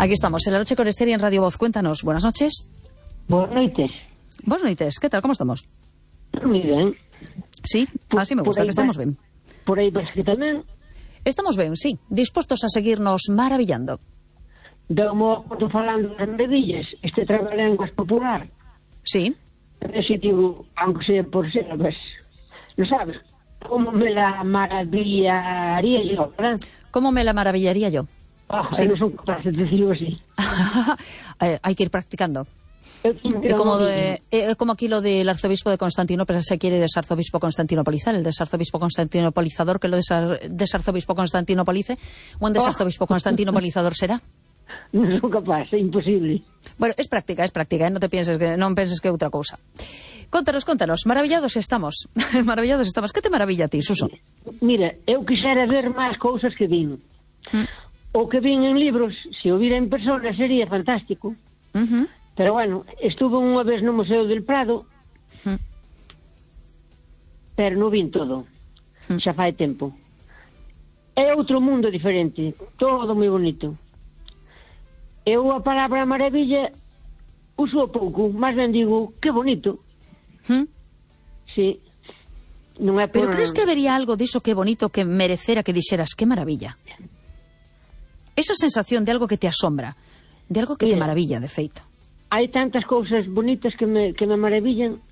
Aquí estamos, en La Noche con Ester y en Radio Voz. Cuéntanos, buenas noches. Buenas noites. Buenas noites, ¿qué tal? ¿Cómo estamos? Moi ben. Sí, así me gusta, que estemos ben. Por aí vas que tamén. Estamos ben, sí, dispostos a seguirnos maravillando. Deu-mo acordo falando das maravillas, este trabalengos popular. Sí. Ese digo, aunque sea por ser, pues, no sabes, como me la maravillaría yo, ¿verdad? ¿Cómo me la maravillaría yo? Sí. No son capaces de decirlo así. Hay que ir practicando. Como aquí lo del arzobispo de Constantinopla se quiere desarzobispo constantinopolizar, el desarzobispo constantinopolizador que lo desarzobispo constantinopolice, o un desarzobispo constantinopolizador será. Non son capaz, é imposible. Bueno, es práctica, non penses que é outra cousa. Contanos, maravillados estamos. Maravillados estamos. Que te maravilla a ti, Suso? Mira, eu quixera ver máis cousas que vin. O que vin en libros, se o vira en persona sería fantástico. Pero bueno, estuve unha vez no Museo del Prado, pero non vin todo. Xa fai tempo. É outro mundo diferente, todo moi bonito. Eu a palabra maravilla uso pouco, máis ben digo, que bonito. Sí. Non é por... Pero crees que habería algo diso que bonito que merecera que dixeras que maravilla? Esa sensación de algo que te asombra, de algo que te maravilla, de feito. Hai tantas cousas bonitas que me maravillan,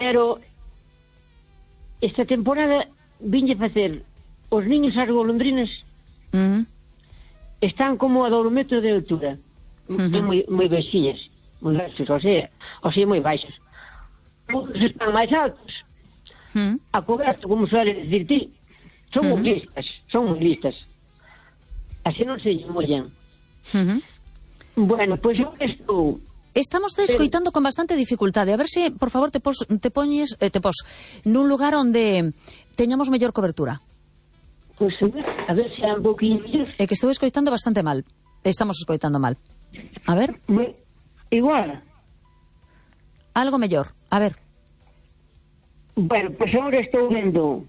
pero esta temporada vinlle facer os niños as golondrinas están como a 2 metros de altura, moi baixinhas, moi baixas, ou sea, moi baixas. Outros están máis altos, a coberto, como suele decir ti, son moi listas. Así non se mollan. Bueno, pois eu estou... Estamos te escoitando con bastante dificultade. A ver se, por favor, te pos nun lugar onde teñamos mellor cobertura. Pois a ver se é un pouquinho mellor. É que estou escoitando bastante mal. Estamos escoitando mal. A ver. Igual. Algo mellor. A ver. Bueno, pois agora estou vendo...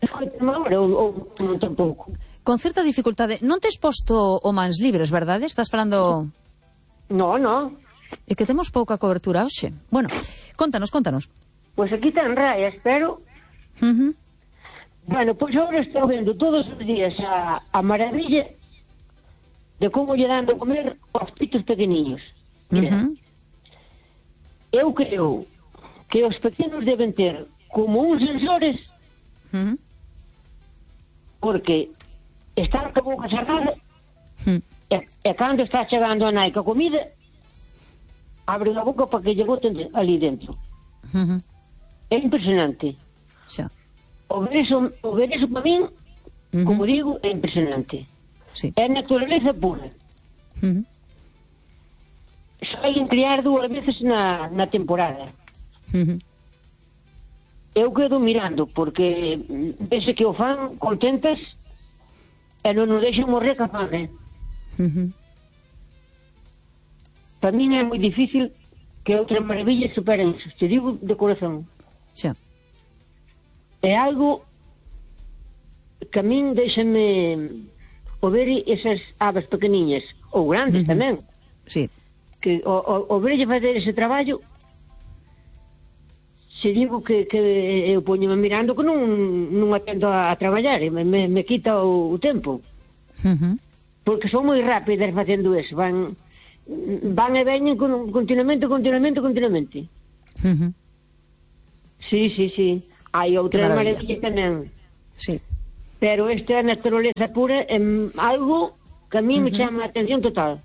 Escoitame agora ou non tampouco? Con certa dificultade. Non tes posto o mans libres, verdade? Estás falando... No. É que temos pouca cobertura hoxe. Bueno, contanos. Pois aquí ten rayas, pero... Bueno, pois agora estou vendo todos os días a maravilla de como lle dan de comer aos pitos pequeniños. Mira, eu creo que os pequenos deben ter como uns sensores porque están con a boca cerrada e cando está chegando a nai ca comida abren a boca para que lle boten ali dentro. É impresionante. Xa. O ver eso para min, como digo, é impresionante. Sí. É naturaleza pura. Saen criar 2 veces na temporada. Eu quedo mirando porque vese que o fan contentas e non nos deixan morrer ca fame. Para min é moi difícil que outras maravillas superen eso, te digo de corazón. Xa. É algo que a min deixame o ver esas aves pequeniñas, ou grandes tamén. Sí. Que o verlle fazer ese traballo, se digo que eu poñome mirando que non atendo a traballar, me quita o tempo. Porque son moi rápidas facendo eso, van e veñen continuamente. Sí. Hai outras maravillas tamén. Sí. Pero esta é a naturaleza pura, é algo que a mí me chama a atención total.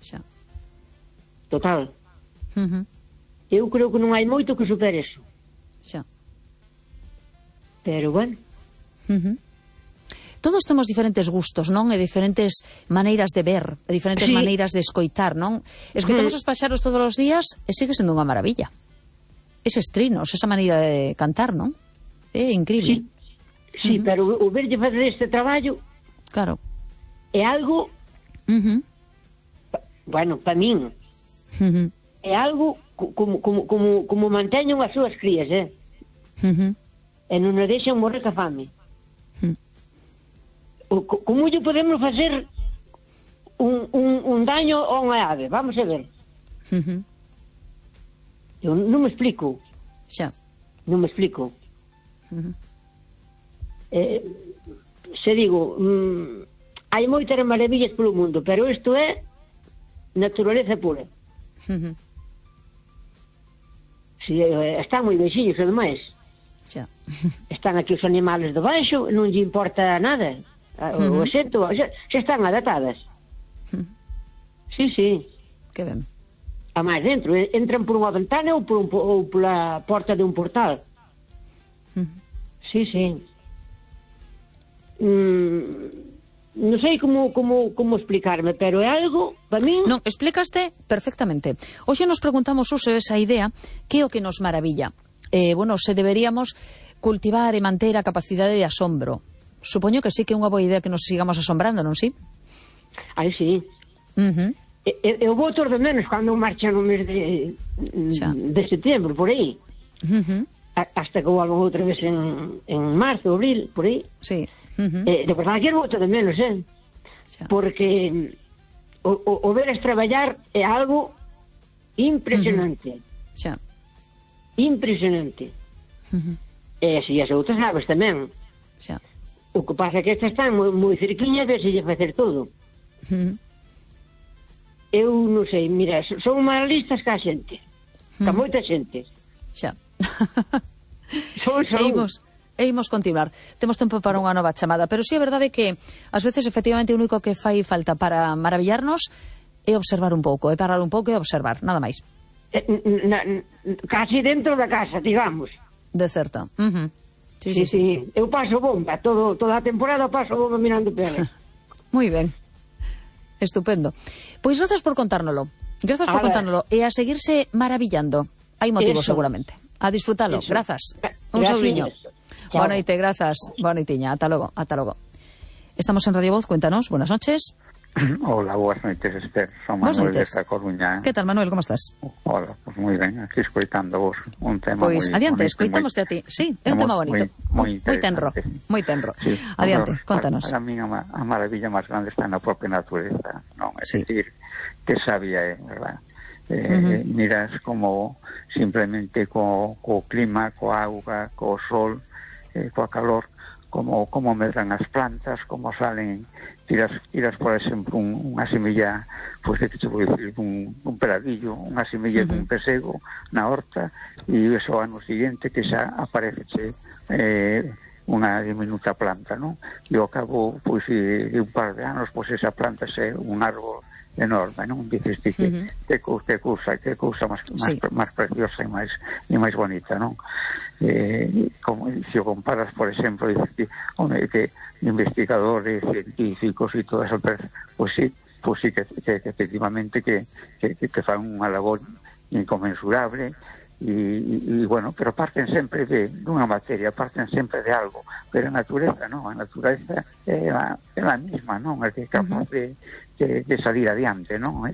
Xa. Total. Eu creo que non hai moito que supere eso. Xa. Pero bueno. Todos temos diferentes gustos, non? E diferentes maneiras de ver, e diferentes maneiras de escoitar, non? Escoitamos os paxaros todos os días e sigue sendo unha maravilla. Eses trinos, esa maneira de cantar, non? É incrível. Sí, pero o verlle fazer este traballo, claro, é algo, bueno, para min, é algo como manteñen as súas crías, e non nos deixan morrer ca fame. Como lle podemos facer un daño a unha ave, vamos a ver. Eu non me explico. Xa. Non me explico. Se digo, hai moitas maravillas polo mundo, pero isto é naturaleza pura. Si, están moi bexiños, ademais. Xa. Están aquí os animales debaixo, non lle importa nada. O xento, xa están adaptadas. Sí, sí. Que ben. A máis dentro, entran por unha ventana ou pola porta de un portal. Sí, sí. Non sei como explicarme, pero é algo, para min... Non, explicaste perfectamente. Hoxe nos preguntamos uso esa idea, que é o que nos maravilla. Bueno, se deberíamos cultivar e manter a capacidade de asombro. Supoño que sí que é unha boa idea que nos sigamos asombrando, non sí? Ai, sí. Eu vou todos de menos cando marcha no mes de setembro, por aí. Hasta que volvan outra vez en marzo, abril, por aí. Sí. De verdade que vou todos de menos, porque o veres traballar é algo impresionante. Xa. Impresionante. E así as outras aves tamén. Xa. O que pasa é que estas están moi cerquiñas de se lle facer todo. Eu non sei, mira, son máis listas que a xente, que moita xente. Xa. Son. E imos continuar. Temos tempo para unha nova chamada, pero sí é verdade que ás veces efectivamente o único que fai falta para maravillarnos é observar un pouco, é parar un pouco e observar, nada máis. Casi dentro da casa, digamos. De certo. Sí. Eu paso bomba, toda a temporada paso bomba mirando peles. Moi ben. Estupendo. Pois grazas por contárnolo. Grazas por contárnolo. E a seguirse maravillando. Hai motivo seguramente. A disfrutalo. Grazas. Un saudiño. Boa noite, grazas. Boa noitiña. Ata logo. Estamos en Radio Voz. Cuéntanos. Buenas noches. Hola, boas noites, Esther. Son Manuel desta Coruña. Que tal, Manuel? Como estás? Hola, pues moi ben. Aquí escoitando vos un tema pois, adiante, escoitámoste a ti. Sí, é un tema bonito. Moi tenro. Sí. Adiante, contanos. Para mí a maravilla máis grande está na propia natureza, non? É dicir, que sabia é, verdad? Miras como simplemente co clima, coa auga, co sol, coa calor, como medran as plantas, como salen, tiras por exemplo unha semilla, pois que te vou dicir, un peladillo, unha semilla dun pesego na horta, e iso ano seguinte que xa aparece unha diminuta planta, non? E ao cabo, pois, de un par de anos, pois esa planta é un árbol enorme, non? Dices que cousa máis preciosa e máis bonita, non? Como se o comparas, por exemplo, dices que investigadores, científicos e todo eso, pois sí que efectivamente que fan unha labor inconmensurable. E bueno, pero parten sempre dunha materia, parten sempre de algo, pero a natureza non, a natureza é a misma, non, é que é capaz de salir adiante, non,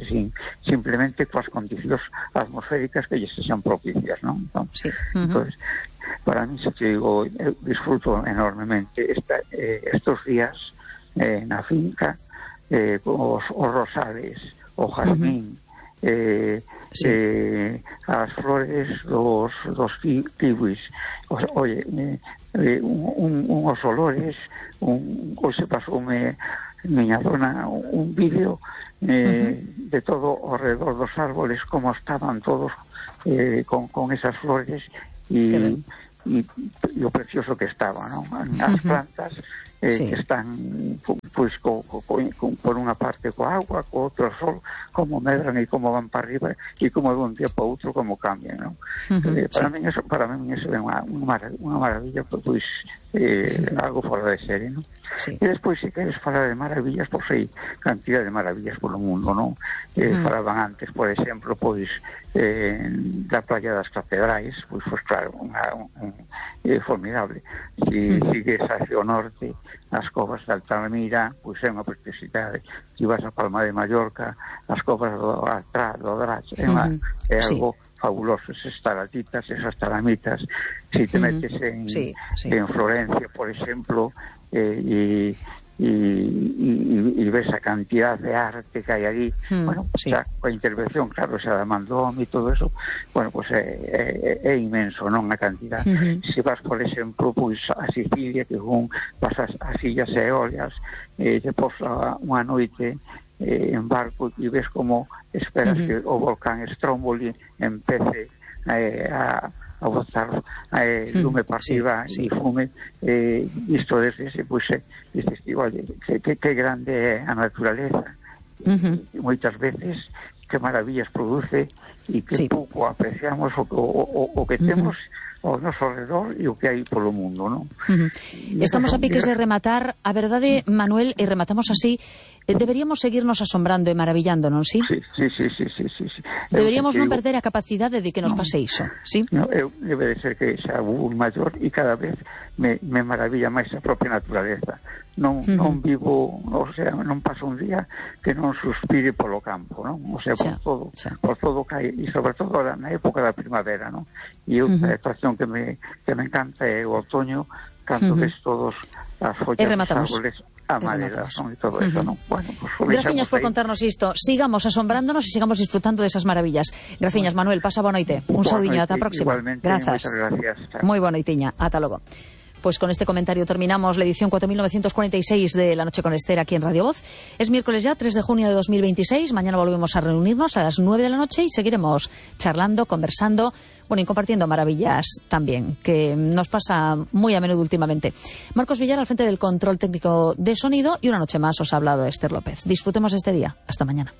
simplemente coas condicións atmosféricas que lles sexan propicias, non? Entón, para mí, se te digo, eu disfruto enormemente estos días na finca, os rosales, o jardín, as flores dos kiwis, uns olores, hoxe pasoume miña dona un vídeo de todo ao redor dos árboles, como estaban todos con esas flores e o precioso que estaba, non? As plantas que están pois por unha parte coa agua, co outro sol, como medran e como van para arriba e como de un día para outro como cambian, non? Para min eso é unha maravilla, pois algo fora de serie, non? E despois, se queres falar de maravillas, pois hai cantidad de maravillas polo mundo, non? Falaban antes, por exemplo, pois da playa das Catedrais, pois claro, é formidable. Se sigues hacia o norte, as covas de Altamira, pois é unha preciosidade. Se vas a Palma de Mallorca, as covas do Drac, é algo fabuloso, esas estalamitas. Se te metes en Florencia, por exemplo, e y ves a cantidad de arte que hay allí. Bueno, sí. xa, a intervención, claro, xa da Mandón e todo eso, bueno, pues é inmenso, non, a cantidad. Se vas, por exemplo, pois a Sicilia, que vas as Illas Eolias, depois unha noite en barco e ves como esperas que o volcán Stromboli empece a botar lume para arriba e fume, isto desde ese, pois, dices, oye, que grande é a naturaleza, e moitas veces que maravillas produce e que pouco apreciamos o que temos ao noso redor e o que hai polo mundo, non? Estamos a piques de rematar. A verdade, Manuel, e rematamos así, deberíamos seguirnos asombrando e maravillándonos, sí? Sí. Deberíamos non perder a capacidade de que nos pase iso, sí? Debe de ser que xa un maior e cada vez me maravilla máis a propia naturaleza. Non vivo, o sea, non paso un día que non suspire polo campo, non? O sea, por todo que hai, e sobre todo na época da primavera, non? E outra estación que me encanta é o outoño, cando ves todos as follas dos árboles amarelas, non? E todo eso, non? Bueno, pues, graciñas por contarnos isto. Sigamos asombrándonos e sigamos disfrutando desas maravillas. Graciñas, Manuel. Pasa boa noite. Un saudiño, ata a próxima. Igualmente, grazas. Gracias. Moi boa noitiña. Ata logo. Pues con este comentario terminamos la edición 4946 de La Noche con Esther aquí en Radio Voz. Es miércoles ya, 3 de junio de 2026. Mañana volvemos a reunirnos a las 9 de la noche y seguiremos charlando, conversando, bueno, y compartiendo maravillas también, que nos pasa muy a menudo últimamente. Marcos Villar al frente del control técnico de sonido y una noche más os ha hablado Esther López. Disfrutemos este día. Hasta mañana.